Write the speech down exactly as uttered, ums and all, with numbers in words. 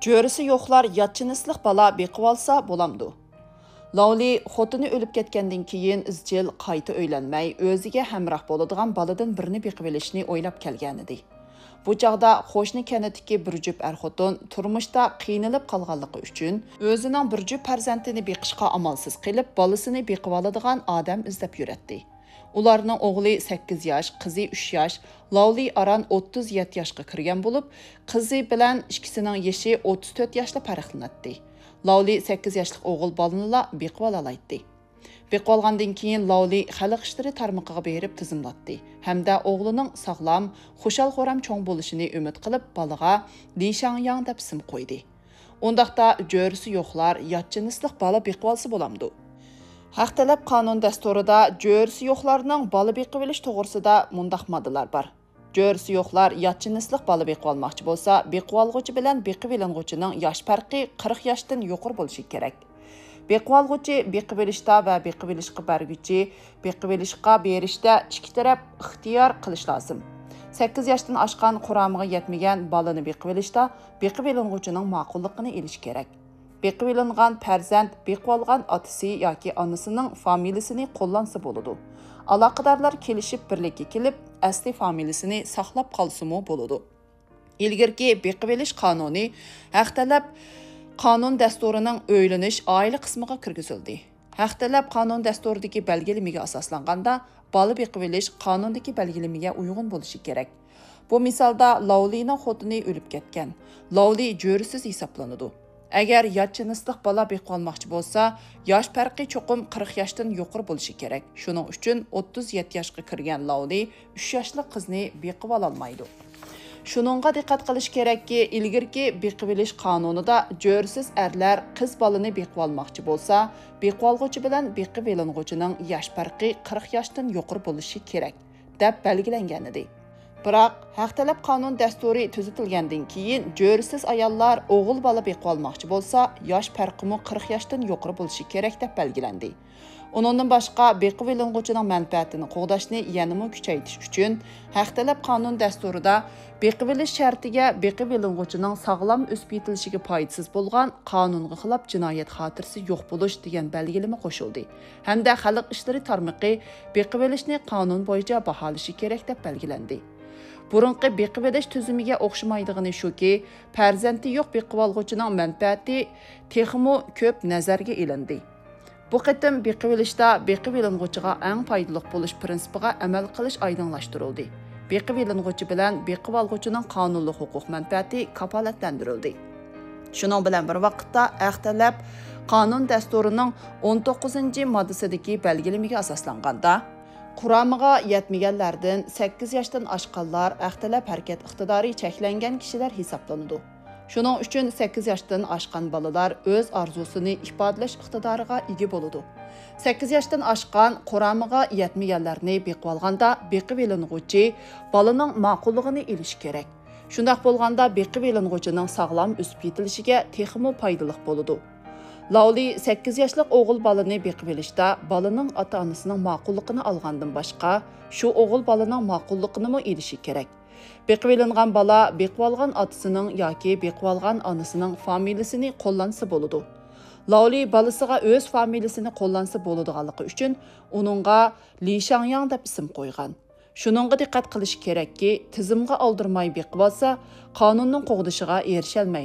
جۆرىسى يوقلار يات جىنسلىق بالا بېقىۋالسا بولامدۇ؟ لاۋلى خوتۇنى ئۆلۈپ كەتكەندىن كېيىن ئىزچىل قايتا ئۆيلەنمەي، ئۆزىگە ھەمراھ بولىدىغان بالىدىن بىرنى بېقىۋېلىشنى ئويلاپ كەلگەنىدى. بۇ چاغدا قوشنا كەنتتىكى بىر جۈپ ئەر-خوتۇن تۇرمۇشتا قىينىلىپ قالغانلىقى ئۈچۈن، ئۆزىنىڭ بىر جۈپ پەرزەنتىنى بېقىشقا ئامالسىز قېلىپ، بالىسىنى بېقىۋالىدىغان ئادەم ئىزدەپ يۈرەتتى. ئۇلارنىڭ ئوغلى سەككىز ياش، قىزى ئۈچ ياش، لاۋلى ئاران ئوتتۇز يەتتە ياشقا كىرگەن بولۇپ، قىزى بىلەن ئىككىسىنىڭ يېشى ئوتتۇز تۆت ياشلا پەرقلىنەتتى. لاۋلى سەككىز ياشلىق ئوغۇل بالىنىلا بېقىۋالالايتتى. بېقىۋالغاندىن كېيىن لاۋلى خەلق ئىشلىرى تارمىقىغا بېرىپ تىزىملاتتى ھەمدە ئوغلىنىڭ ساغلام، خۇشال-خۇرام چوڭ بولۇشىنى ئۈمىد قىلىپ، بالىغا لى شاڭياڭ دەپ ئىسىم قويدى. ئۇنداقتا جۆرىسى يوقلار يات جىنسلىق بالا بېقىۋالسا بولامدۇ؟ ھەق تەلەپ قانۇن دەستۇرىدا جۆرىسى يوقلارنىڭ بالا بېقىۋېلىش توغرىسىدا مۇنداق ماددىلار بار. جۆرىسى يوقلار يات جىنسلىق بالا بېقىۋالماقچى بولسا، بېقىۋالغۇچى بىلەن بېقىۋېلىنغۇچىنىڭ ياش پەرقى قىرىق ياشتىن يۇقىرى بولۇشى كېرەك. بېقىۋالغۇچى بېقىۋېلىشتا ۋە بېقىۋېلىشقا بەرگۈچى بېقىۋېلىشقا بېرىشتە ئىككى تەرەپ ئىختىيار قىلىش لازىم. سەككىز ياشتىن ئاشقان، قۇرامىغا يەتمىگەن بالىنى بېقىۋېلىشتا بېقىۋېلىنغۇچىنىڭ ماقۇللۇقىنى ئېلىش كېرەك. بېقىۋېلىنغان پەرزەنت بېقىۋالغان ئاتىسى ياكى ئانىسىنىڭ فامىلىسىنى قوللانسا بولىدۇ. ئالاقىدارلار كېلىشىپ بىرلىككە كېلىپ، ئەسلى فامىلىسىنى ساقلاپ قالسىمۇ بولىدۇ. ئىلگىرىكى بېقىۋېلىش قانۇنى ھەق تەلەپ قانۇن دەستۇرىنىڭ ئۆيلىنىش ئائىلە قىسمىغا كىرگۈزۈلدى. ھەق تەلەپ قانۇن دەستۇرىدىكى بەلگىلىمىگە ئاساسلانغاندا، بالا بېقىۋېلىش قانۇندىكى بەلگىلىمىگە ئۇيغۇن بولۇشى كېرەك. بۇ مىسالدا لاۋلىنىڭ خوتۇنى ئۆلۈپ كەتكەن. لاۋلى جۆرىسىز ھېسابلىنىدۇ. ئەگەر يات جىنسلىق بالا بېقىۋالماقچى بولسا، ياش پەرقى چوقۇم قىرىق ياشتىن يۇقىرى بولۇشى كېرەك. شۇنىڭ ئۈچۈن ئوتتۇز يەتتە ياشقا كىرگەن لاۋلى ئۈچ ياشلىق قىزنى بېقىۋالالمايدۇ. شۇنىڭغا دىققەت قىلىش كېرەككى، ئىلگىرىكى بېقىۋېلىش قانۇنىدا جۆرىسىز ئەرلەر قىز بالىنى بېقىۋالماقچى بولسا، بېقىۋالغۇچى بىلەن بېقىۋېلىنغۇچىنىڭ ياش پەرقى قىرىق ياشتىن يۇقىرى بولۇشى كېرەك، دەپ بەلگىلەنگەنىدى. بىراق، ھەق تەلەپ قانۇن دەستۇرى تۈزىتىلگەندىن كېيىن، جۆرىسىز ئاياللار ئوغۇل بالا بېقىۋالماقچى بولسا، ياش پەرقىمۇ قىرىق ياشتىن يۇقىرى بولۇشى كېرەك، دەپ بەلگىلەندى. ئۇنىڭدىن باشقا، بېقىۋېلىنغۇچىنىڭ مەنپەئەتىنى قوغداشنى يەنىمۇ كۈچەيتىش ئۈچۈن، ھەق تەلەپ قانۇن دەستۇرىدا بېقىۋېلىش شەرتىگە بېقىۋېلىنغۇچىنىڭ ساغلام ئۆسۈپ يېتىلىشىگە پايدىسىز بولغان، قانۇنغا خىلاپ جىنايەت خاتىرىسى يوق بولۇش دېگەن بەلگىلىمە قوشۇلدى ھەمدە خەلق ئىشلىرى تارمىقى بېقىۋېلىشنى قانۇن بويىچە باھالىشى كېرەك، دەپ بەلگىلەندى. بۇرۇنقى بېقىۋېلىش تۈزۈمىگە ئوخشىمايدىغىنى شۇكى، پەرزەنتى يوق بېقىۋالغۇچىنىڭ مەنپەئەتى تېخىمۇ كۆپ نەزەرگە ئېلىندى. بۇ قېتىم بېقىۋېلىشتا بېقىۋېلىنغۇچىغا ئەڭ پايدىلىق بولۇش پىرىنسىپىغا ئەمەل قىلىش ئايدىڭلاشتۇرۇلدى. بېقىۋېلىنغۇچى بىلەن بېقىۋالغۇچىنىڭ قانۇنلۇق ھوقۇق مەنپەئەتى كاپالەتلەندۈرۈلدى. شۇنىڭ بىلەن بىر ۋاقىتتا، ھەق تەلەپ قانۇن دەستۇرىنىڭ ئون توققۇزىنچى ماددىسىدىكى بەلگىلىمىگە ئاساسلانغاندا، قۇرامىغا يەتمىگەنلەردىن سەككىز ياشتىن ئاشقانلار ھەق تەلەپ ھەرىكەت ئىقتىدارى چەكلەنگەن كىشىلەر ھېسابلىنىدۇ. شۇنىڭ ئۈچۈن سەككىز ياشتىن ئاشقان بالىلار ئۆز ئارزۇسىنى ئىپادىلەش ئىقتىدارىغا ئىگە بولىدۇ. سەككىز ياشتىن ئاشقان، قۇرامىغا يەتمىگەنلەرنى بېقىۋالغاندا، بېقىۋېلىنغۇچى بالىنىڭ ماقۇللۇقىنى ئېلىشى كېرەك. شۇنداق بولغاندا، بېقىۋېلىنغۇچىنىڭ ساغلام ئۆسۈپ يېتىلىشىگە تېخىمۇ پايدىلىق بولىدۇ. لاۋلى سەككىز ياشلىق ئوغۇل بالىنى بېقىۋېلىشتا بالىنىڭ ئاتا-ئانىسىنىڭ ماقۇللۇقىنى ئالغاندىن باشقا، شۇ ئوغۇل بالىنىڭ ماقۇللۇقىنىمۇ ئېلىشى كېرەك. بېقىۋېلىنغان بالا بېقىۋالغان ئاتىسىنىڭ ياكى بېقىۋالغان ئانىسىنىڭ فامىلىسىنى قوللانسا بولىدۇ. لاۋلى بالىسىغا ئۆز فامىلىسىنى قوللانسا بولىدىغانلىقى ئۈچۈن ئۇنىڭغا لى شاڭياڭ دەپ ئىسىم قويغان. شۇنىڭغا دىققەت قىلىش كېرەككى، تىزىمغا ئالدۇرماي بېقىۋالسا، قانۇننىڭ قوغدىشىغا ئېرىشەلمەيدۇ.